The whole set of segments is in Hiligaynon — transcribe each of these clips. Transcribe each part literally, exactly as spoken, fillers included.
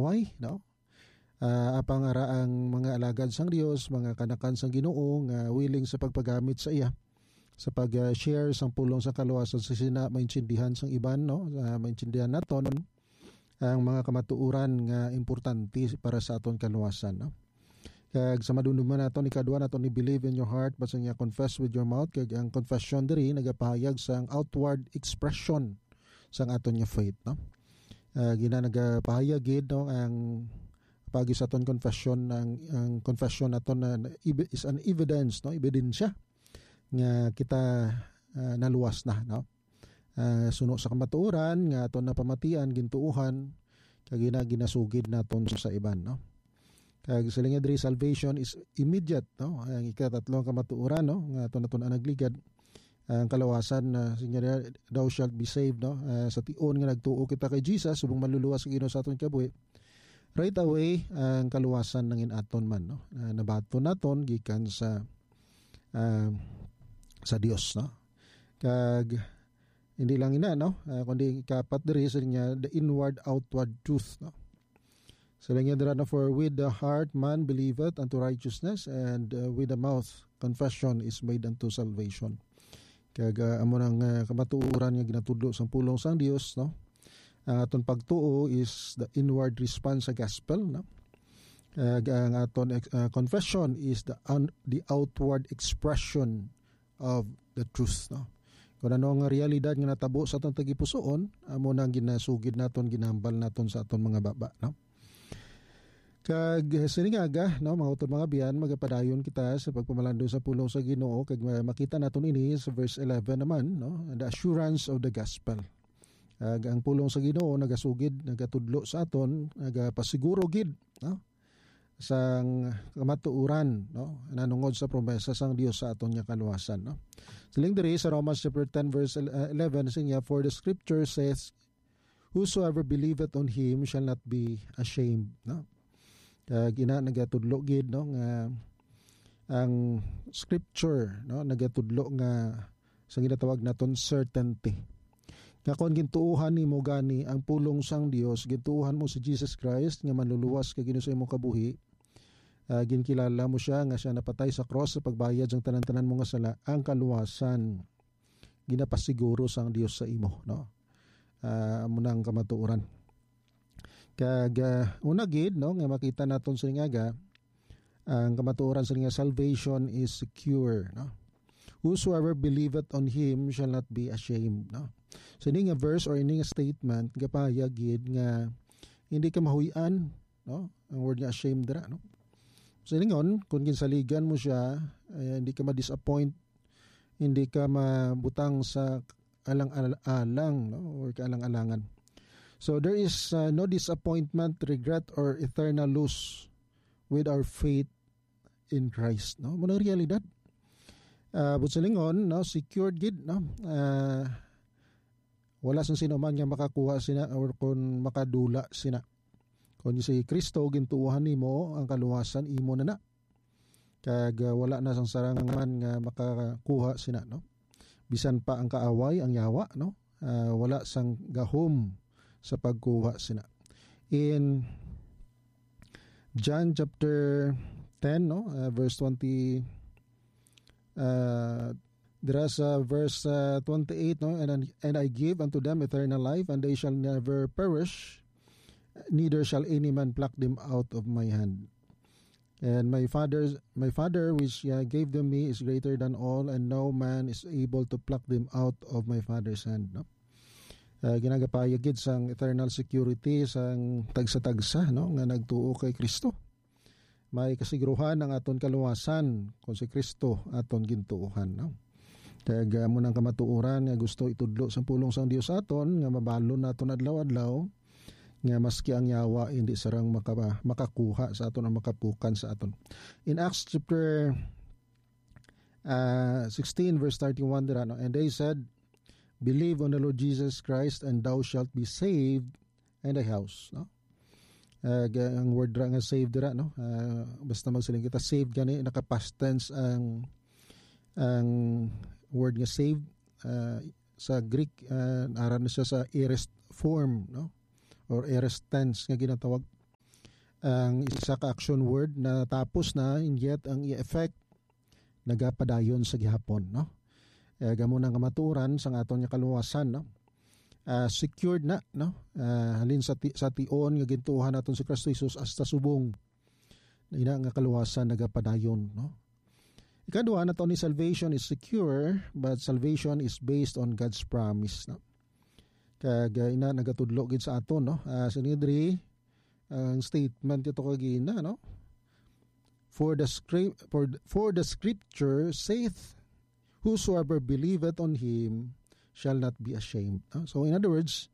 kaaway, no? Ah, apang ara ang mga alagad sang Dios, mga kanakan sang Ginoo nga willing sa pagpagamit sa iya, sa pag-share sang pulong sa kaluwasan sa sina maintindihan sang iban, no? Ah, maintindihan naton ang mga kamatuoran nga importante para sa aton kaluwasan, no? Kag sa madumduman naton, ikadua naton ni believe in your heart, but sa niya confess with your mouth, kag ang confession diri nagapahayag sang outward expression sang aton nga faith, no? Ah, gina nagapahayag gid, no, ang pagi sa aton confession, ang, ang confession naton na, na ev-, is an evidence, no, ebidensya nga kita, ah, naluwas na, no? Ah, suno sa kamatuoran nga aton napamatian, gintuohan, kag gina-, ginasugid naton sa iban, no? Kag siling niya diri, salvation is immediate, no? Ang ikatatlo nga kamatuoran, no, nga aton naton nagligad, ang kalawasan, na siling niya, "Thou shalt be saved," no? Ah, sa tion nga nagtuo kita kay Jesus subong manluluwas sa Ginoo sa aton kabuhi, right away ang kaluwasan nangin aton man, no? Ah, nabaton naton gikan sa, ah, sa Dios, no? Kag hindi lang ina, no? Ah, kundi ikapat diri, siling niya, the inward outward truth, no? Siling niya dira, no, "For with the heart man believeth unto righteousness, and, uh, with the mouth confession is made unto salvation." Kag, ah, amo nang, ah, kamatuoran nga ginatudlo sang pulong sang Dios, no? Ang aton pagtuo is the inward response sa gospel, no? Kag ang aton ex-, ah, confession is the un-, the outward expression of the truth, no? Kung ano nga realidad nga natabo sa aton tagipusoon, amo nang ginasugid naton, ginahambal naton sa aton mga baba, no? Kag sining aga, no, mga utod, mga biyan, magapadayon kita sa pagpamalandong sa pulong sa Ginoo, kag ma-, makita naton ini sa verse eleven naman, no, the assurance of the gospel. Kag ang pulong sa Ginoo nagasugid, nagatudlo sa aton, nagapasiguro gid, no, sang kamatuoran, no, nanungod sa promesa sang Dios sa aton nga kaluwasan, no. Siling diri sa Romans chapter ten, verse eleven, siling niya, "For the scripture says, 'Whosoever believeth on him shall not be ashamed,'" no? Kag ina nagatudlo gid, no, nga ang scripture, no, nagatudlo nga sa ginatawag naton certainty. Nga kon gintuohan nimo gani ang pulong sang Dios, gintuohan mo si Jesus Christ nga manluluwas kag Ginoo sa imong kabuhi, ah, ginkilala mo siya nga siya napatay sa cross sa pagbayad sang tanan-tanan mo nga sala, ang kaluwasan ginapasiguro sang Dios sa imo, no? Ah, amo na ang kamatuoran. Kag, ah, una gid, no, nga makita naton sining aga, ang kamatuoran sining nga salvation is secure, no? "Whosoever believeth on him shall not be ashamed," no? So, ini nga verse or ini nga statement, gapahayag gid nga hindi ka mahuy-an, no? Ang word nga ashamed dira, no? So, silingon, kung ginsaligan mo siya, eh, hindi ka ma-disappoint, hindi ka mabutang sa alang-alang, no? Or kaalang-alangan. So, there is, uh, no disappointment, regret, or eternal loss with our faith in Christ, no? Amo na ang realidad. Ah, buot silingon, no, secured gid, no? Ah, wala sang sino man nga makakuha sina or kon makadula sina. Kon si Kristo gintuohan nimo, ang kaluwasan imo na na. Kag, ah, wala na sang sarang man nga makakuha sina, no? Bisan pa ang kaaway, ang yawa, no? Ah, wala sang gahom sa pagkuha sina. In John chapter ten, no, uh, verse twenty, uh, dira sa verse, uh, twenty-eight, no, "And, and I give unto them eternal life, and they shall never perish, neither shall any man pluck them out of my hand. And my Father, my Father which, uh, gave them me is greater than all, and no man is able to pluck them out of my Father's hand," no? Ah, ginagapahayag gid sang eternal security sang tagsa-tagsa, no, nga nagtuo kay Kristo. May kasiguruhan ang aton kaluwasan kung si Kristo aton gintuohan, no? Kag, ah, amo nang kamatuoran nga gusto itudlo sang pulong sang Dios sa aton, nga mabalon naton adlaw-adlaw, nga maski ang yawa hindi sarang makaba-, makakuha sa aton o makapukan sa aton. In Acts chapter, ah, sixteen, verse thirty-one, dira, no? "And they said, 'Believe on the Lord Jesus Christ, and thou shalt be saved, and thy house,'" no? Ah, ga-, ang word ra nga saved dira, no? Ah, basta magsiling kita, saved gani, naka-past tense ang, ang word nga saved. Ah, sa Greek, ah, ara na siya sa aorist form, no? Or aorist tense nga ginatawag. Ang isa ka action word na tapos na, and yet ang iya effect nagapadayon sa gihapon, no? Eh, gamo nang kamatuoran sa aton nga kaluwasan, no? Ah, secured na, no? Ah, halin sa ti-, sa tion nga gintuohan naton si Kristo Jesus hasta subong ina nga kaluwasan nagapadayon, no? Ikadua, not only salvation is secure, but salvation is based on God's promise, no? Kag, ah, ina nagatudlo gid sa aton, no? Ah, sini diri, ang statement ito kagina, no? For the script, for, for the scripture saith, "Whosoever believeth on him shall not be ashamed." No? So, in other words,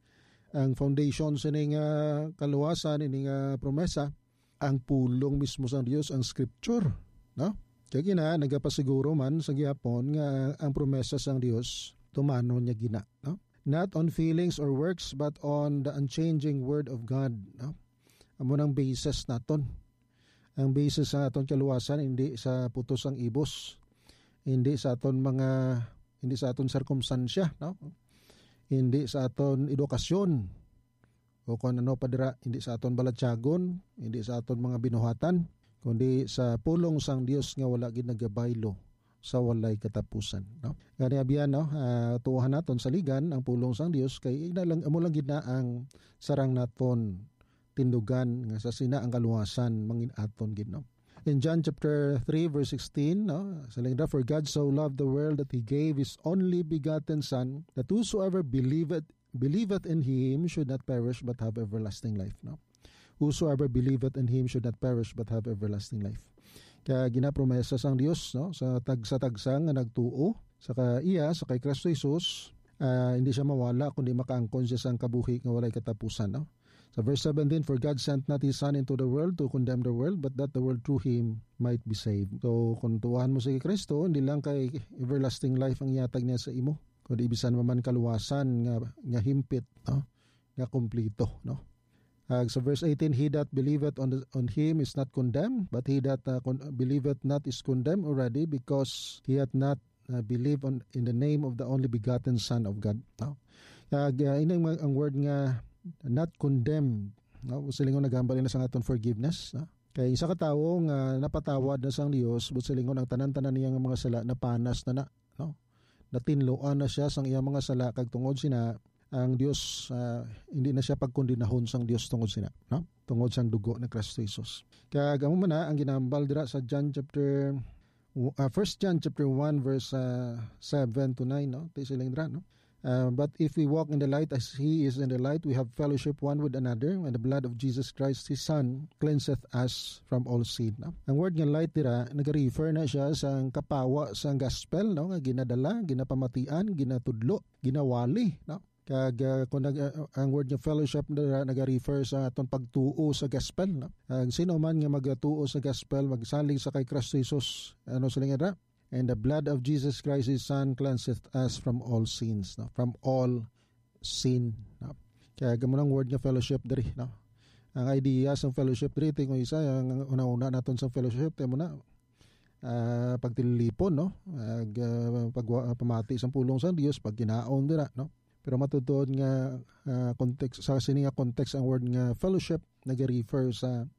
ang foundation sining, ah, kaluwasan, ining, ah, promesa, ang pulong mismo sang Dios, ang scripture, no? Kaya gina, nagapasiguro man sa gihapon nga ang promesa sang Dios, tumanon niya gina, no? Not on feelings or works, but on the unchanging word of God, no? Amo nang basis naton. Ang basis sa aton kaluwasan, hindi sa putos sang ibos, hindi sa aton mga, hindi sa aton sirkumstansya, no? Hindi sa aton edukasyon, o kung ano pa dira, hindi sa aton balatyagon, hindi sa aton mga binuhatan, kundi sa pulong sang Dios nga wala gid nagabaylo sa walay katapusan, no? Gani, abyan, no? Ah, tuohan naton saligan ang pulong sang Dios, kay ina lang, amo lang gid na ang sarang naton tindugan nga sa sina ang kaluwasan mangin-aton gid, no? In John chapter three, verse sixteen, no? Sa lingda, "For God so loved the world that he gave his only begotten Son, that whosoever believeth, believeth in him should not perish but have everlasting life," no? "Whosoever believeth in him should not perish but have everlasting life." Kaya ginapromesa sang Dios, no? Sa tag-, sa tagsa nga nagtuo sa ka-, iya, sa kay Kristo Jesus, ah, hindi siya mawala, kundi makaangkon siya sang kabuhi nga walay katapusan, no? Sa verse seventeen, "For God sent not his Son into the world to condemn the world, but that the world through him might be saved." So, kung tuohan mo si Kristo, hindi lang kay everlasting life ang ihatag niya sa imo, kundi bisan pa man kaluwasan nga, nga himpit, no? Nga kumplito, no? Ag sa verse eighteen, "He that believeth on the, on him is not condemned, but he that, uh, con-, believeth not is condemned already, because he hath not, uh, believed on, in the name of the only begotten Son of God." No? Ag, uh, ining mga, ang word nga not condemned, no? Silingon, naghambal na sa aton forgiveness, no? Kay isa ka tawo nga napatawad na sang Dios, but silingon ang tanan-tanan niya nga mga sala napanas na na, no? Natinluan na siya sang iyang mga sala, kag tungod sina, ang Dios, ah, hindi na siya pagkondinahon sang Dios tungod sina, no? Tungod sang dugo ni Kristo Jesus. Kag amo man na ang ginahambal dira sa John chapter, uh, First John chapter one, verse, uh, seven to nine, no? Ti siling dira, no? Uh, "But if we walk in the light as he is in the light, we have fellowship one with another, and the blood of Jesus Christ, his Son, cleanseth us from all sin," no? Ang word nga light dira, nag-refer na siya sa kapawa sa gospel, no? Nga ginadala, ginapamatian, ginatudlo, ginawali, no? Kag, ah, kung nag-, ah, ang word nga fellowship dira nag-refer sa aton pagtuo sa gospel, no? Ang sino man nga magatuo sa gospel, magsalig sa kay Kristo Jesus, ano sila nga dira? "And the blood of Jesus Christ, his Son, cleanseth us from all sins," no? From all sin, no? Kaya gamo nang word nga fellowship diri, no? Ang idea sa fellowship diri, tingog isa, ang una-una naton sa fellowship, tayo mo na, ah, pagtilipon, no? Ag, ah, pagwa-, pamati sa pulong sa Dios, pagkinaon dira, no? Pero matutuod nga, ah, context, sa sini nga context, ang word nga fellowship nag-refer sa,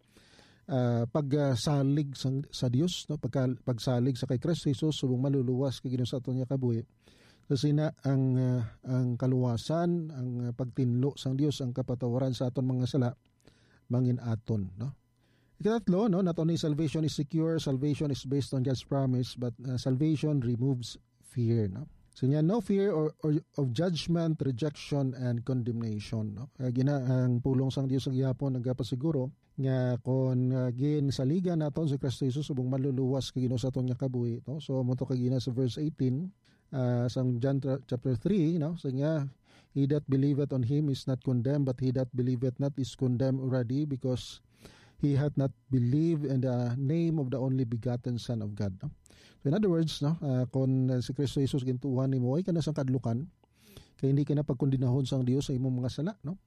ah, pagsalig sa, sa Dios, no? Pagka-, pagsalig sa kay Kristo Jesus subong maluluwas kag Ginoo sa aton nga kabuhi. Sa sina ang, ah, ang kaluwasan, ang, ah, pagtinlo sang Dios, ang kapatawaran sa aton mga sala, mangin-aton, no? Ikatatlo, no, not only salvation is secure, salvation is based on God's promise, but, uh, salvation removes fear, no? So niya, no fear or, or of judgment, rejection, and condemnation, no? Kaya gina-, ang pulong sang Dios sa gihapon nagapasiguro nga kon, uh, ginsaligan naton si Kristo Jesus, subong maluluwas kag Ginoo sa aton nga kabuhi, no? So, amo to kagina sa verse eighteen, uh, sang John tra-, chapter three, no? So niya, "He that believeth on him is not condemned, but he that believeth not is condemned already, because he hath not believed in the name of the only begotten Son of God," no? So, in other words, no, ah, kung, ah, si Kristo Jesus gintuohan nimo, ay ka na sang kadlukan, kay hindi ka na pagkondinahon sang Dios sa imong mga sala, no?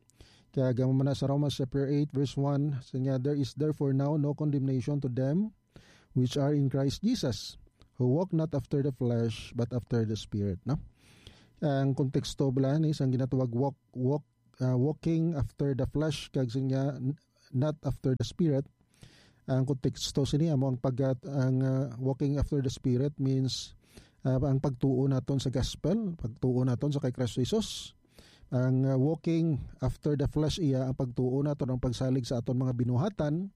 Kaya gamo man na sa Romans chapter eight, verse one, sa niya, "There is therefore now no condemnation to them which are in Christ Jesus, who walk not after the flesh, but after the Spirit," no? Ang konteksto bala ni sang ginatawag walk, walk, ah, walking after the flesh, kag sa niya, n-, not after the Spirit. Ang konteksto sini amo ang pag-, ang, ah, walking after the Spirit means, ah, ang pagtuo naton sa gospel, pagtuo naton sa kay Kristo Jesus. Ang, ah, walking after the flesh iya ang pagtuo naton, ang pagsalig sa aton mga binuhatan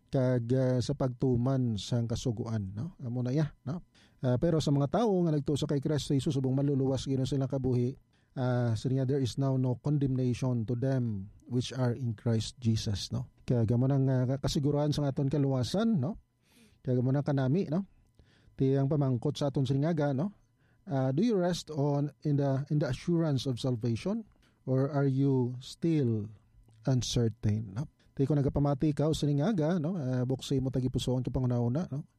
kag, ah, sa pagtuman sang Kasugoan, no? Amo na iya, no? Ah, pero sa mga tawo nga nagtuo sa kay Kristo Jesus, subong maluluwas gid sila kabuhi, ah, siya nga, "There is now no condemnation to them which are in Christ Jesus," no? Kaya amo nang, ah, kasiguran sa aton kaluwasan, no? Kaya amo nang kanami, no? Ti ang pamangkot sa aton silingaga, no? Ah, do you rest on in the, in the assurance of salvation, or are you still uncertain, no? Ti kung nagapamati ka o silingaga, no? Ah, buksi mo tagipusoon ka panghunahuna, no?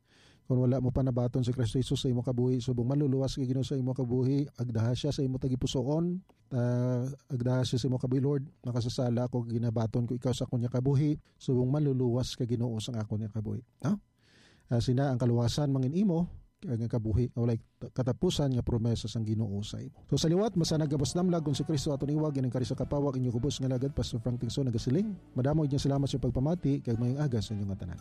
Kung wala mo pa nabaton si Kristo Jesus sa imo kabuhi, subong maluluwas ka Ginoo sa imo kabuhi, agdaha siya sa imo tagipusoon, ah, agdaha siya sa imo kabuhi, "Lord, makasasala ako, ginabaton ko ikaw sa akong kabuhi, subong maluluwas ka Ginoo sa akong kabuhi." No? Ah, sina ang kaluwasan mangin imo, kag ang kabuhi nga walay katapusan nga promesa sang Ginoo sa imo. So, sa liwat, masanag nga mas damlag kung si Kristo aton iwag, ining kari sa kapawag, inyo kubos nga lagad, Pastor Frank Tingso, nagasiling, madamo gid nga salamat sa pagpamati, kag mayong aga sa inyo nga tanan.